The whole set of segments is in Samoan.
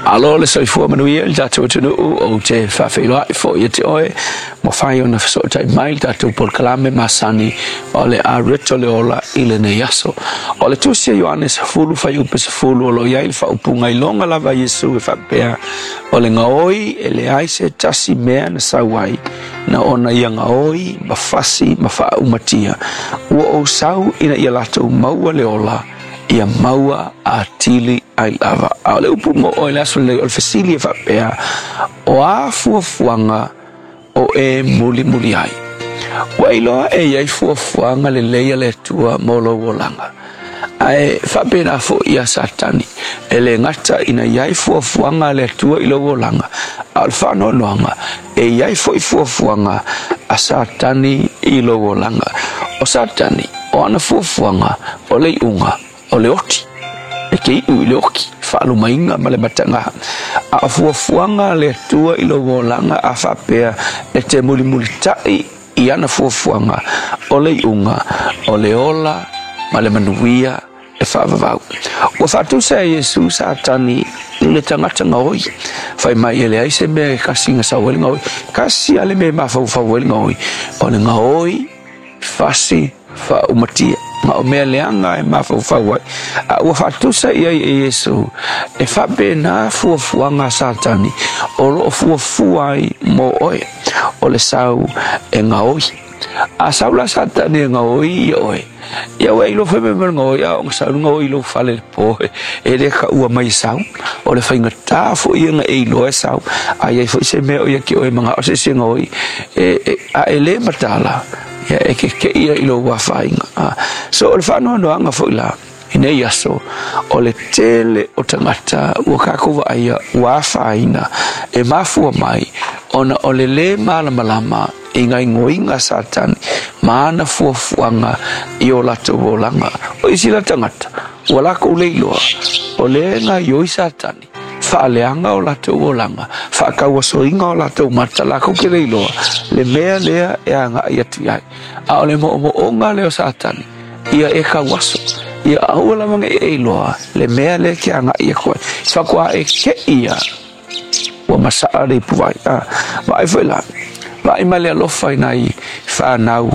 Malo le soifua manuia i le tatou atunuu, ou te faafeiloai foi ia te oe, ua mafai ona fesootai mai i le tatou polokalame masani o le Areto le Ola i lenei aso. O le tusi a Ioane 10 fuaiupu 10 o lo o i ai le faaupuga iloga lava a Iesu e faapea, o le gaoi e leai se tasi mea na sau ai, na ona ia gaoi ma fasi ma faaumatia, ua ou sau ina ia latou maua le ola, ia maua atili ai lava. A o le upu mo oe i le aso lenei, o le fesili e faapea, o a fuafuaga o e mulimuli ai? Ua iloa e i ai fuafuaga lelei a le Atua mo lou olaga. Ae faapena foi ia Satani, e le gata ina i ai fuafuaga a le Atua i lou olaga, a o le faanoanoaga, e i ai foi fuafuaga a Satani i lou olaga. O Satani, o ana fuafuaga, o le iuga, o le oti, e te iu i le oti, faalumaina ma le mataga. A o fuafuaga a le Atua i lou olaga a faapea e te mulimulitai i ana fuafuaga, o le iuga, o le ola ma le manuia e faavavau. Ua faatusa e Iesu Satani i le tagata gaoi, fai mai e leai se mea e kasi na sau ai le gaoi. Kasi lava le mea e mafaufau ai le gaoi, o le gaoi fasi faaumatia, ma o mea leaga e mafaufau ai. A ua faatusa i ai e Iesu, e faapena fuafuaga a Satani o lo o fuafua ai mo oe, o le sau e gaoi. A sau la Satani e gaoi ia oe, ia ua e iloa foi mea mai le gaoi, a o sau le gaoi i lou fale i le po, e le kaua mai e sau. O le faigata foi ia na e iloa e sau, a i ai foi se mea o ia te oe manao se isi e gaoi, a e le mataala, ia e keke'i ia i lou afaina. So o le faanoanoaga foi la i nei aso, o le tele o tagata ua kākou vaaia ua afaina e mafua mai ona o le lē malamalama i gaoioiga a Satani ma ana fuafuaga i o latou olaga. O isi la tagata ua lakou le iloa o lea e gaoioi Satani, faaleaga o latou olaga, faatauasoina o latou mata, lakou te le iloa le mea lea e agai atu i ai. A o le moomooga lea o Satani, ia e tauaso, ia aua lava ne i e iloa le mea lea e te agai atu ai. Faatoa e te'i ia ua masaa le ipuvai. Vaai foi la, vaai ma le alofa i nai fanau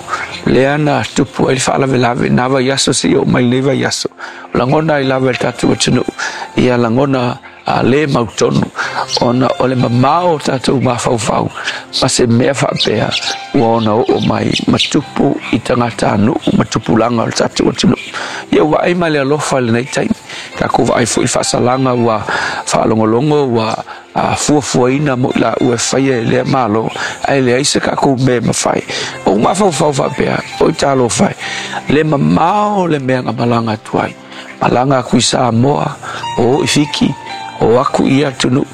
lea na tupu ai le faalavelave na vaiaso seia oo mai lenei vaiaso. Lagona ai lava e le tatou atunuu ia lagona a le mautonu ona o le mamao o tatou mafaufau ma se mea faapea ua ona oo mai ma tupu i tagatanuu ma tupulaga o le tatou atunuu. Ia ua vaai ma le alofa i lenei taimi, tatou vaai foi i le faasalaga ua faalogologo ua fuafuaina mo i laua e faia e lea Malo, ae leai se tatou mea e mafai. Ou mafaufau faapea, oi talofa e, le mamao le mea na malaga atu ai. Malaga atu i Samoa, o i Fiti, o atu i ia atunuu,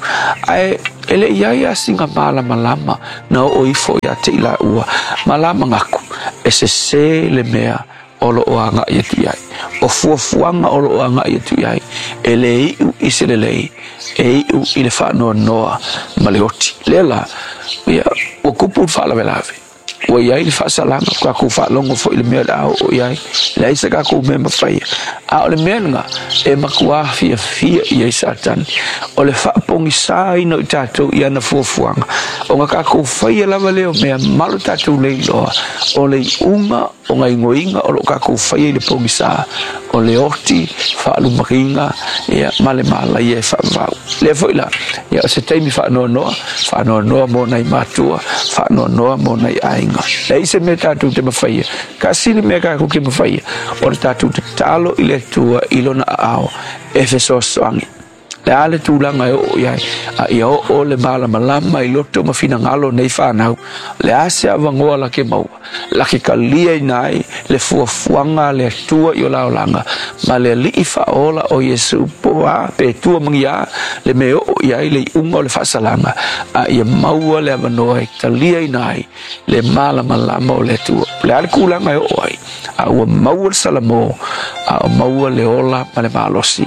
ae e le i ai lava sina malamalama na oo ifo ia te i laua, ma la manatu, e sese le mea o lo o agai atu i ai. O fuafuaga o lo o agai atu i ai, e le iu i se lelei, e iu i le faanoanoa ma le oti. Lea la, ia, ua tupu le faalavelave, ua i ai le faasalaga, ua tatou faalogo foi i le mea o le a oo i ai, leai se tatou mea e mafaia. A o le mea lena e matuā fiafia i ai Satani, o le faapogisaina o i tatou i ana fuafuaga, ona tatou faia lava lea o mea malo tatou le iloa, o le iuga o gaoioiga o lo o tatou faia i le pogisa, o le oti, faalumaina, ia, ma le malaia e faavavau. Lea foi la, ia, o se taimi faanoanoa, faanoanoa mo nai matua, faanoanoa mo nai aiga. Leai se mea tatou te mafaia, tasi le mea tatou te mafaia, o le tatou tatalo i le Atua i lona aao e fesoasoani. Le a le tulaga e oo i ai, a ia oo le malamalama i loto ma finagalo o nei fanau, le a se avanoa la ke maua, la ke taliaina ai le fuafuaga a le Atua i o la olaga, ma le Alii faaola o Iesu, po o a, pe tua magia le mea e oo i ai le iuga o le faasalaga, a ia maua le avanoa e taliaina ai le malamalama o le Atua. O le a le tulaga e oo ai, a ua maua le salamo, a o maua le ola ma le malosi,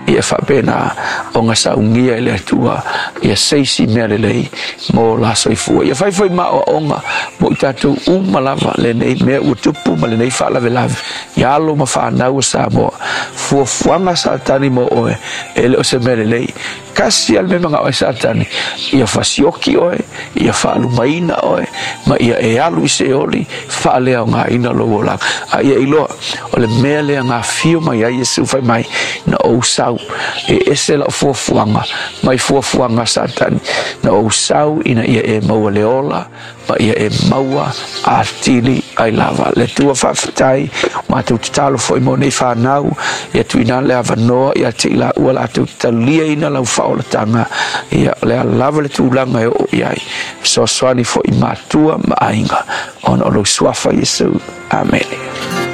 ia faapena ona saunia e le Atua ia seisi mea lelei mo la soifua. Ia fai foi maoaoga mo i tatou uma lava lenei mea ua tupu ma lenei faalavelave i alo ma fanau o Samoa. Fuafuaga a Satani mo oe, e le o se mea lelei. Tasi lava le mea e manao ai Satani, ia fasioki oe, ia faalumaina oe, ma ia e alu i Seoli, faaleaogaina lou olaga. A ia iloa, o le mea lea na afio mai ai Iesu fai mai, na ou sau, e ese lau fuafuaga mai fuafuaga a Satani, na ou sau ina ia e maua le ola, ma ia e maua atili ai lava. Le Atua faafetai, matou tatalo foi mo nei fanau, ia tuuina le avanoa ia te i laua latou taliaina lau faaolataga, ia o le a lava le tulaga e oo i ai, fesoasoani foi i matua ma aiga, ona o lou suafa Iesu. Amene.